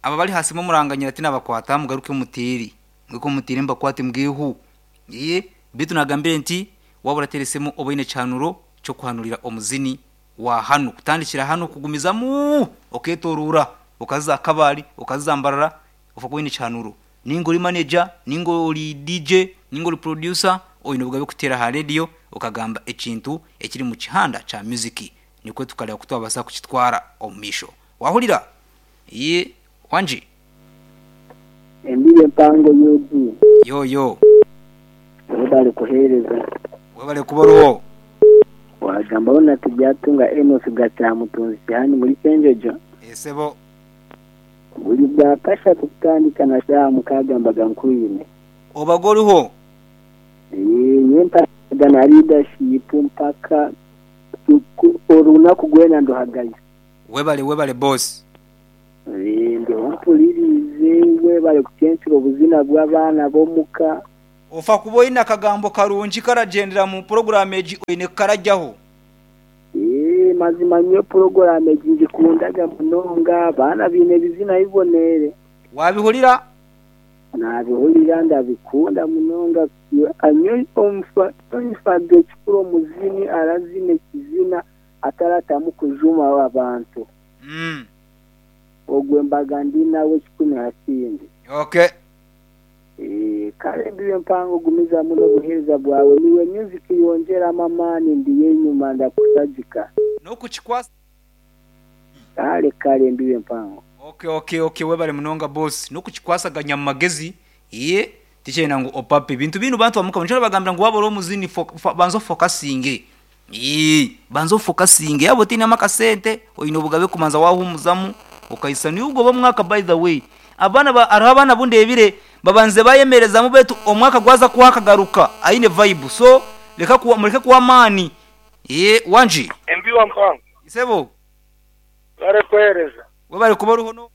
Aba abari aha simu muranganyira tinabakwata mugaruke muteere. Mugaruke muteere mbakwate mbwehu. Ee, beitu nagambire nti waaba orateera esimu oba oine ekihanuro ky'okuhanurira omuzini wa hanu. Kutandikira hanu kugumizamu okeetooroora okaza Kabale, okaza Mbarara ofa kuba oine ekihanuro. Nainga ori maneja, nainga ori DJ, nainga ori producer, oine obugabe kuteera aha rediyo okagamba ekintu ekiri mu kihanda kya muziki nikwo tukareeba ku twabaasa kukitwara omu maisho. Waahurira? Ee, wangi. Embibo empango UG. Yo yo. Webale kuhereza. Webale kuba oriho. Wagambaho na Tibyatunga Enos Gakyamutunzi Kihani muri Kyenjojo. Ee sebo. Buri bwakashatu kutandika na shaaha mukaaga mbaga nkwine. Obaga oriho. Ee nyowe mpagaga na leadership mpaka orunaku rwena nduhagayo. Webale webale boss. Eeh ndiho mpuririize webale kucencura obuzina bw'abaana b'omuka. Ofa kuba oine akagambo karungi karagyendera mu puroguraamu egi oine kukaragyaho. Eeh mazima nyowe puroguraamu egi ngikundaga munonga abaana baine ebizina biboneire. Wabihurira? Nabihurira ndabikunda munonga nyowe nfaga ekikuru omuzini arazina ekizina ataratamu kujuma abantu. Ogwe mbaga ndi nawe kikumi ha kindi. Okay. Eeh kare mbibe mpango gumizamu nobuhereza bwawe niwe music yongyeramu amaani ndiyo enyuma ndakushagika. Nokukikwasa. Kare kare mbibe mpango. Ok ok ok webale munonga boss nokukikwasaganya mumagezi eeh tikyenda ngu opape ebintu binu bantu bamukama nikyo ndabagambira ngu waba ori omuzini banza ofokasinge Eeh banza ofokasinge yaaba otainemu akasente oine obugabe kubanza waahumuzamu okahisya niiwe ogoba omwaka by the way abaana ba hariho abaana abu ndeebire babanzize baayemerezamu beitu omwaka gwaza kuhwa akagaruka aine vibe so reka kuwa mureke kuwa amaani eeh wangi. Embibo mpango. Isebo. Webare kuhereza. Webare kuba oriho no.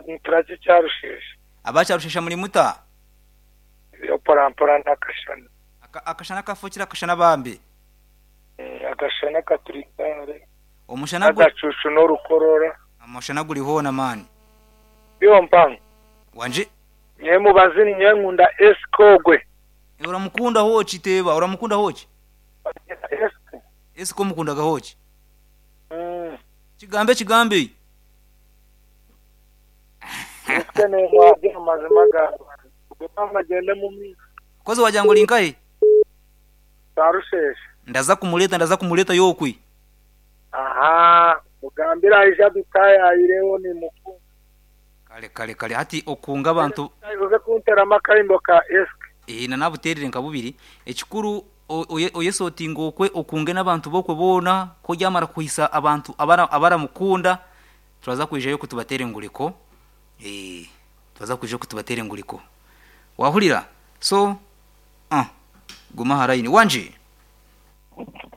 Niturakye Kyarusheshe. Aba Kyarushesha muri muta? Ebyo mpora mpora n'akashana. Akashana kafukire akashana bambi. Akashana katuri kare. Omushana gu. N'agacuucu n'orukorora. Omushana guri hoona mani. Iwe mpango. Wangi. Nyowe mubazi ninyowe nkunda Esike ogwe. Oramukunda hoki teeba oramukunda hoki? Esike. Esike omukundaga hoki? Kigambe kigambe. Esike nemwabya amazima ga Ruhanga. Ogwe maama agyende omu maisho. Kozi wagira ngu ori nkahi? Tarusheshe. Ndaza kumureeta ndaza kumureeta yokwe. Ahaa mugambire aije adutaayayireho nimukunda. Kare kare kare hati okunga abantu. Oze kunteramu akaimbo ka Esk. Eeh na nabuteerire nka bubiri. Ekikuru oyesotinge okwe okunge n'abantu b'okwe boona ku oryamara kuhisa abantu abaramukunda turaza kwijayo okwe tubateere enguriko. Eeh turaza kwija okwe tubateere enguriko. Waahurira? So uh guma aha layini. Wangi?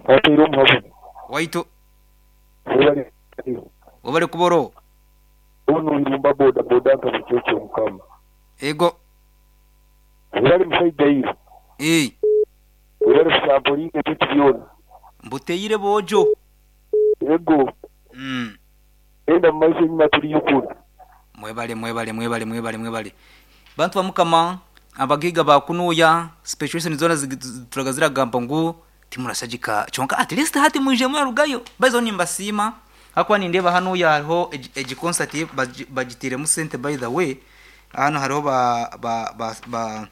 Wateire omuhabuzi. Waitu. Webale kuba. Webale kuba oroho. Onu Irumba boda boda nka Bukyekye Mukama. Ego. Webale mushaija iwe. Eeh. Webale kusamporinga ebintu byona. Mbuteire boojo. Ego. Genda mumaiso enyima turiyo kunu. Mwebale mwebale mwebale mwebale mwebale bantu ba mukama abagaiga ba kunuya situation zona zituraga ziragamba ngu timurashagika kyonka at least hati mwije murarugayo by the way nimbasiima ahakuba nindeeba hanuya hariho egi concert bagiteiremu sente by the way hanu hariho ba ba ba ba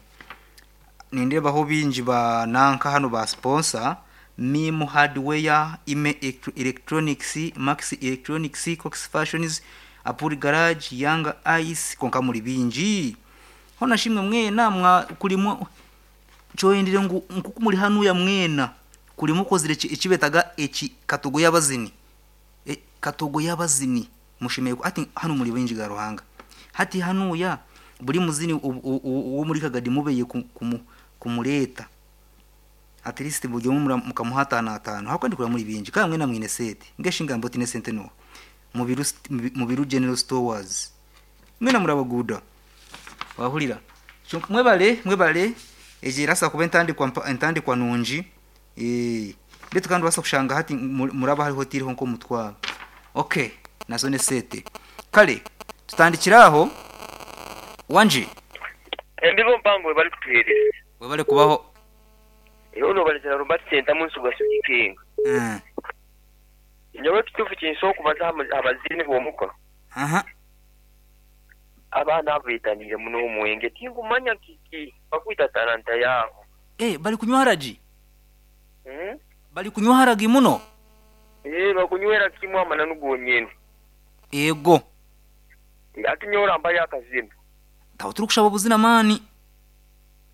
nindeebaho baingi ba nanka hanu ba sponsor Mim Hardware, Ime Electronics, Max Electronics, Cox Fashions, Apuri Garage, Young Ice kwonka muri baingi. Hoona shi imwe mwena mwa kuri mwa kyoyendire ngu nk'oku muri hanuya mwena kuri mukozire eki beetaga eki katogo y'abazini katogo y'abazini mushemereire hati hanu muri baingi ga Ruhanga hati hanuya buri muzini ow'omuri Kagadi mubeye kumureeta. At least buri omwe mukamuha ataano ataano ahabw'okuba ndikureeba muri bingi kandi mwena mwine sente mbwenu shi ngambe otiine sente n'oha? Mubiru Mubiru General Stores mwena muri abaguuda wahurira kyonka mwebare mwebare egi erabaasa kuba entandikwa entandikwa nungi beitu kandi orabaasa kushanga hati muraba hariho otaireho nk'omutwaro okay nazo n'esente kare. Tutandikire aho. Wangi. Embibo mpango webale kutuhereza. Webale kubaho. Iwe nobarizana Robert Sentamu Nsuga Sugi King. Nyowe ekituufu kinsobola okubaza aha baziini b'omuka. Abaana abo beetaniire muno omwenge tinkumanya kiki bakwita talanta yaabo. Eh, bari kunywa haragi? Bari kunywa haragi muno? Eh, bakunywera kimwe amananu gonyine. Eego. Hati nyowe orampayo akazina. Tawe turikushaba obuzina maani.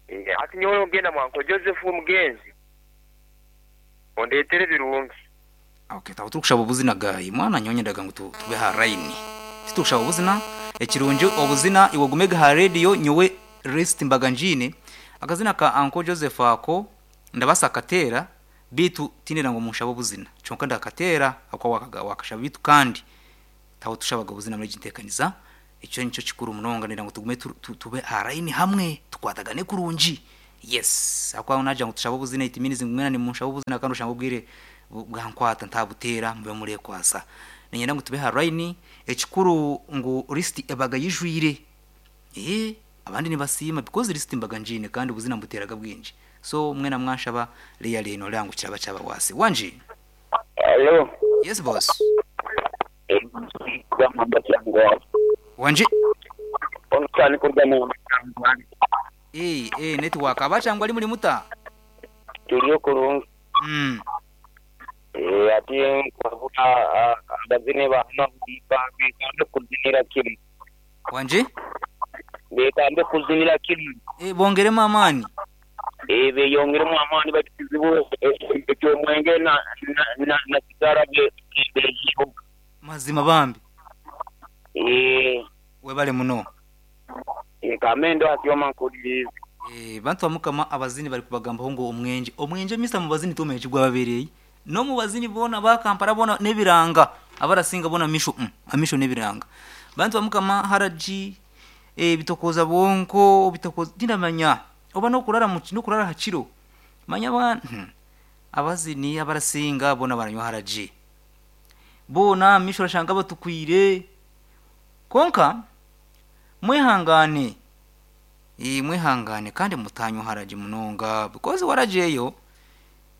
Eh, hati nyowe ogenda mwa Uncle Joseph omugenzi ondetere ebirungi. Okay, tawe turikushaba obuzina guy. Mwana nyowe nyendaga ngu tube aha line. Titukushaba obuzina, ekirungi obuzina iwe ogumege aha radio nyowe rest mbaga ngiine. Akazina ka Uncle Joseph ako ndabaasa kukateera beitu tindenda ngu munshabe obuzina. Kyonka ndakateera ahakuba wakashaba beitu kandi tawe tushabaga obuzina muri egi nteekaniza. Ekyo nikyo kikuru munonga ndenda ngu tugume tube aha line hamwe tukwatagane kurungi. Yes, ahakuba naagira ngu tushabe obuzina it means ngu mwena nimunshabe obuzina kandi oshange obwire bwankwata ntabuteera mube mureekwasa. Niinyenda ngu tube aha line, ekikuru ngu list ebaga eijwire. Eeh, abandi nibasiima because list mbaga ngiine kandi obuzina mbuteeraga bwingi. So mwena mwanshaba really nooreeba ngu kiraba kyabawaase. Wangi? Halo. Yes boss. Wangi? Eeh, eeh network aba Kyangwali muri muta? Turiyo kurungi. Eeh ati nkwabura abazini ba hanu bekambe kuzinira kimwe. Wangi? Bekambe kuzinira kimwe. Eeh bongeremu amaani. Eeh beyongeremu amaani baitu kizibu eky'omwenge na na sigara beyiheho. Mazima bambi. Eeh. Webale muno. Eeh kambe ndo nkuhuririize. Eeh bantu ba Mukama abazini bari kubagambaho ngu omwengye. Omwengye Mister Mubazini tomanya eki gwababereire. N'omubazini boona aba Kampala boona n'ebiranga. Abarasinga boona misho umm amisho n'ebiranga. Bantu ba Mukama haragi, ebitokooza bwonko, bitokooza tindamanya oba n'okurara n'okurara aha kiro. Manya aba abazini abarasinga boona baranywa haragi. Boona misho orashanga batukwire. Kwonka mwehangane. Eeh mwehangane kandi mutanywa haragi munonga because waragi eyo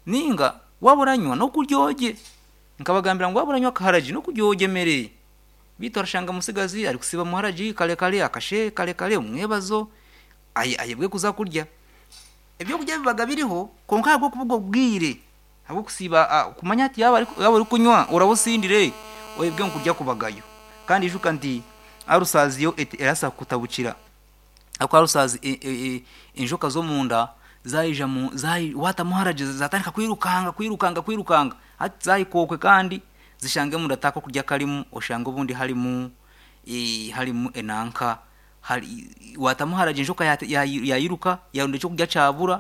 ninga waaba oranywa n'okurya ogye. Nkabagambira ngu waaba oranywa akaharagi n'okurya ogye emere. Beitu orashanga omutsigazi arikusiiba omu haragi kare kare akashe kare kare omwebazo ayebwe kuza kurya. Ebyokurya bibaga biriho kwonka ahabw'okuburwa obwire ahabw'okusiiba kumanya hati yaaba orikunywa oraba osindire oyebwe ngu kurya kubagayo. Kandi ijuka nti ulcers yo erabaasa kukutabukira ahabw'okuba ulcers enjoka z'omunda zaija waatamu haragi zaatandika kwirukanga kwirukanga kwirukanga hati zaahika okwe kandi zishange omunda tihakokurya karimu oshange obundi harimu harimu enanka waatamu haragi enjoka yairuka yaaronda ekyokurya kyabura.